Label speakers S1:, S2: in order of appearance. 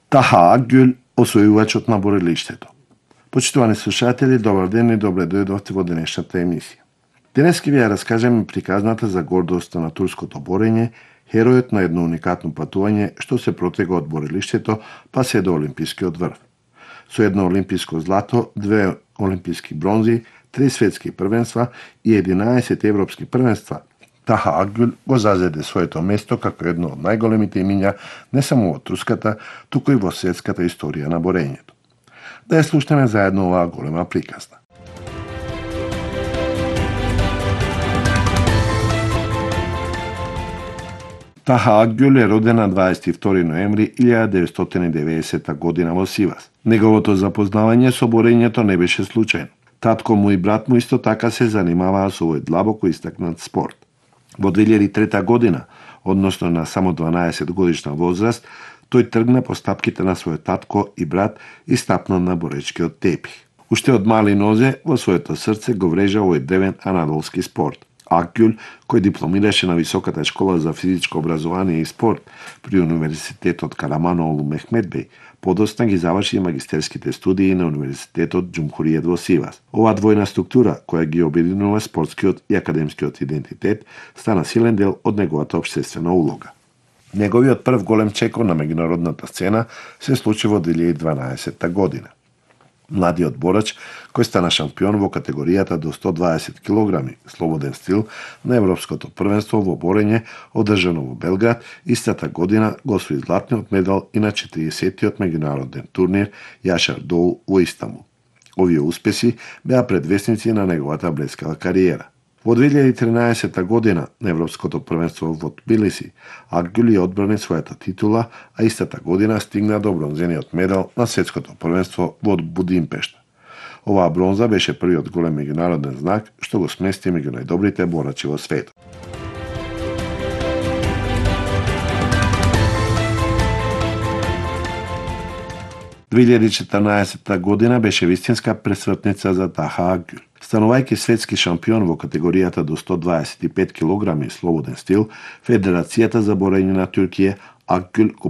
S1: Таха Акгюл, освојувачот на борилиштето. Почитувани слушатели, добар ден и добре дојдовте во денешната емисија. Денес ќе ви ја раскажеме приказната за гордоста на турското борење, херојот на едно уникатно патување што се протега од борилиштето па се до олимпискиот врв. Со едно олимписко злато, 2 олимписки бронзи, 3 светски првенства и 11 европски првенства, Таха Акгюл го зазеде своето место како едно од најголемите имиња не само во турската, туку и во светската историја на борењето. Да ја слушнеме заедно оваа голема приказна. Таха Акгюл е роден на 22 ноември 1990 година во Сивас. Неговото запознавање со борењето не беше случајно. Татко му и брат му исто така се занимаваа со овој длабоко истакнат спорт. Во 2003 година, односно на само 12 годишна возраст, тој тргна по стапките на својот татко и брат и стапна на боречкиот тепих. Уште од мали нозе во своето срце го врежа овој древен анадолски спорт. Акгюл, кој дипломираше на Високата школа за физичко образование и спорт при Универзитетот Караманолу Мехмедбеј, подоцна ги заврши магистерските студии на Универзитетот Џумхуриет во Сивас. Оваа двојна структура, која ги обединува спортскиот и академскиот идентитет, стана силен дел од неговата општествена улога. Неговиот прв голем чекор на меѓународната сцена се случи во 2012 година. Младиот борач, кој стана шампион во категоријата до 120 кг слободен стил на Европското првенство во борење одржано во Белград, истата година го освои златниот медал и на 40-тиот меѓународен турнир Јашар Доу во Истанбул. Овие успеси беа предвесници на неговата блескава кариера. Во 2013 година на Европското првенство во Тбилиси, Акгюл ја одбрани својата титула, а истата година стигна до бронзениот медал на светското првенство во Будимпешта. Оваа бронза беше првиот голем меѓународен знак што го смести меѓу најдобрите борачи во светот. – 2014 година беше вистинска пресвртница за Таха Акгюл. Станувајќи светски шампион во категоријата до 125 кг слободен стил, Федерацијата за борење на Туркија Акгюл го